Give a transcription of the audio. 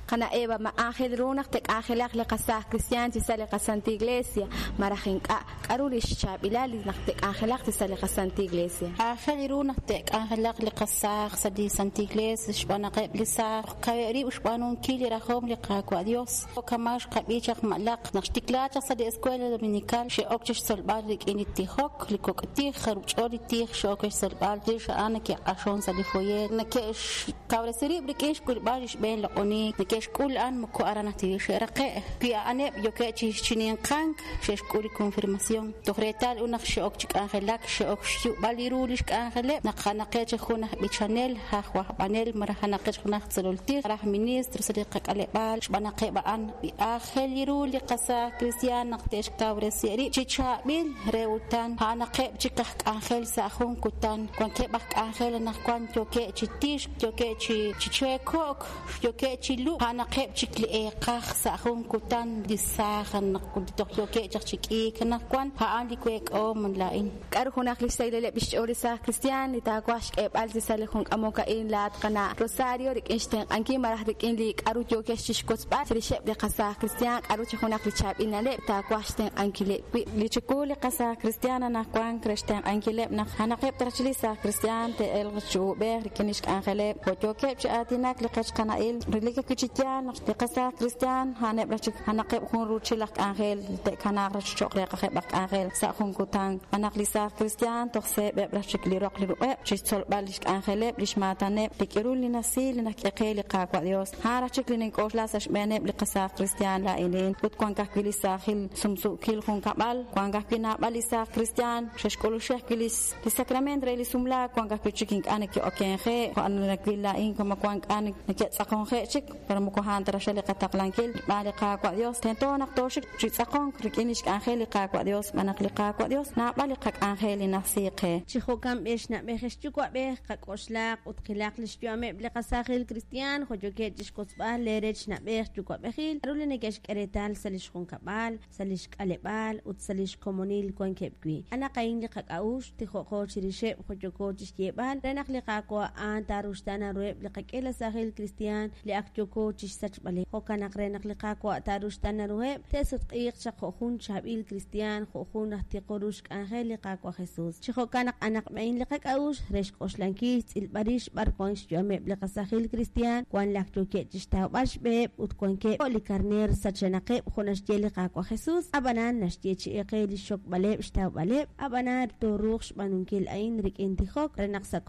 Qana' Eva, ma aajel ru naq te'k'anjelaq li qasaaj kristiaan chi sa' li qaSantil Iglesia, malaj ink'a'? K'a'ru lix chaab'ilal li naq te'k'anjelaq chi sa' li qaSantil Iglesia? Aajel ru naq te'k'anjelaq li qasaaj sa' li Santil Iglesia xb'aan naq eb' li saaj kaweb' rib' xb'aanunkil li rajom li Qaawa' Dios. Kama' xqab'i chaq ma'laq naq xtikla chaq sa' li Escuela Dominical xe'ok chixtzolb'al rik'in li tijok, li kok' tij, jarub' ch'ol li tij xe'ok chixtzolb'al chirix a'an neke'q'axon sa' li foyer, neke'xkawresi rib' rik'in xk'ulb'al li xb'een loq'oniik neke'xk'ul a'an moko aran ajwi' xe'raqe'. Wi a'aneb' yookeb' chi ninqank xe'xk'ul li confirmación. Toj reetal ut naq xe'ok chi k'anjelak, xe'ok xyu'b'al li ru lix k'anjeleb' naq a'anaqeb' chik jun aj b'ichanel, aj wajb'anel malaj a'anaqeb' chik jun aj tzolol tij, malaj ministro sa' li qak'aleb'aal xb'aan naq eb' a'an aajel ru li qasaaj kristiaan naq te'xkawresi rib' chi chaab'il re utan a'anaqeb' chik aj k'anjel sa' jun kutan. Wankeb' aj k'anjel anaqwan yookeb' chi tixk, yookeb' chi cheeko'k, yookeb' chi lub'k, a'anaqeb' chik li eeqaj sa' jun kutan li saaj toj yookeb' chaq chi k'iik anaqwan, a'an li week'ahom laa'in. K'a'ru junaq lix sahilaleb' lix ch'ool li saaj kristiaan li taawaj xk'eeb'al chi sa' li jun k'amok a'in laa'at qana' Rosario rik'in xtenq'ankil malaj rik'in li k'a'ru yookex chixwotzb'al chirixeb' li qasaaj kristiaan, k'a'ru chi junaq li chaab'il na'leb' taawaj xtenq'ankileb' wi'? Li chiwu li qasaaj kristiaan anaqwan re xtenq'ankileb' naq a'anaqeb' ta raj li saaj kristiaan te'elq chi uub'ej rik'in lix k'anjeleb' jo' yookeb' chi aatinak li qech qana'il, relik ajwi' chi yaal naq li qasaaj kristiaan a'aneb' raj chik a'anaqeb' jun ruuchil aj k'anjel li te'kanaaq raj cho'q reeqajeb' aj k'anjel sa' jun kutan. Xb'aan naq li saaj kristiaan toj seeb'eb' raj chik li roq li ruq'eb' chixtzolb'al lix k'anjeleb', lix maataneb', li k'irul li nasiil li naxk'e qe li Qaawa' Dios. A'an raj chik li nink'oxla sa' xb'eeneb' li qasaaj kristiaan laa'inin. Ut wank ajwi' li saajil sumsuukil junkab'al, wank ajwi' naab'al li saaj kristiaan xe'xk'uluxi ajwi' li sacrament re li sumlaak, wank ajwi' chik ink'a' neke'okenje', jo' nawil laa'in kama wank k'a' neke'tz'aqonje' chik, pero moko a'an ta raj li qataqlankil xb'aan li Qaawa' Dios. Tento naq tooxik chi tz'aqonk rik'in lix k'anjel li Qaawa' Dios, xb'aan naq li Qaawa' Dios naab'al li qak'anjel li najsi qe. Chi jo'kan b'ex na'b'ej ex yuwa'b'ej, qak'oxlaq ut qilaq lix yu'ameb' li qasaajil kristiaan jo' yookeb' chixwotzb'al lee rech na'b'ej yuwa'b'ejil, k'a'ru li neke'xk'e reetal sa' lix junkab'al, sa' lix k'aleb'aal, ut sa' lix komonil wankeb' wi'. A'anaq a'in li qak'a'uxl, tijo'qo chirixeb' jo' yooko chixyeeb'al, re naq li Qaawa' a'an taaruxtaana ruheb' li qak'iila saajil kristiaan li ak yooko chixsachb'aleb'. Jo'kan naq re naq li Qaawa' taaruxtaana ruheb', te'sutq'iiq chaq jo' jun chaab'il kristiaan, jo' jun aj tiqo ru xk'anjel li Qaawa' Jesus. Chi jo'kan naq a'anaq a'in li qak'a'uxl re xk'oxlankil, xtz'ilb'al rix b'ar wan xyu'ameb' li qasaajil kristiaan, wan li ak yookeb' chixtawb'al xb'eheb' ut wankeb' jo' li karneer sachenaqeb' jo' naxye li Qaawa' Jesus, a'b'anan naxyeechi'i qe lix xokb'aleb' xtawb'aleb', a'b'anan tooruuq xb'aanunkil a'in rik'in tijok re naq sa' komonil.